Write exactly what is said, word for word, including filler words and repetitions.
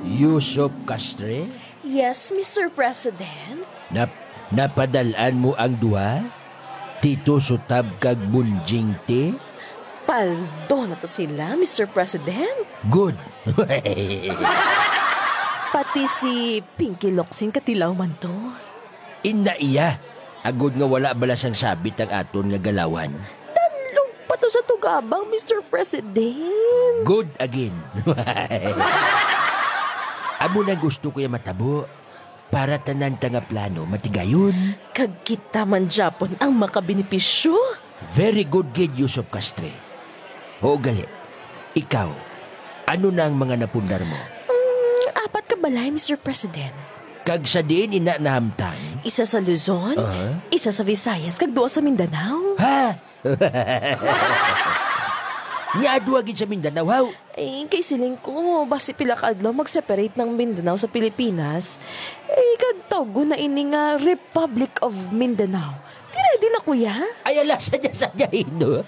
Yusop Castre? Yes, Mister President. Nap-, napadalan mo ang duha? Tito Sutab kag Bunjing T? Paldo na to sila, Mister President. Good. Pati si Pinky Loksing katilaw man to. Inda iya, agod nga wala bala sang sabit ang aton nga galawan. Danlog pa to sa tugabang, Mister President. Good again. Amo na gusto ko ya matabo para tanan ta nga plano matigayon. Kag kita man gyapon ang makabenepisyo. Very good gid, Yusop Castre. Oo gali. Ikaw, ano na ang mga napundar mo? Mm, apat ka balay, Mister President. Kag sa diin ina nahamtang? Isa sa Luzon, Aha. isa sa Visayas, kag duha sa Mindanao. Ha? Nya duha gid sa Mindanao, haw? Ay, kay siling ko, basi pila ka adlaw mag-separate ng Mindanao sa Pilipinas. Eh, kag tawgon na ini nga Republic of Mindanao. Di ready na, kuya? Ay, ala, sadya-sadya, no?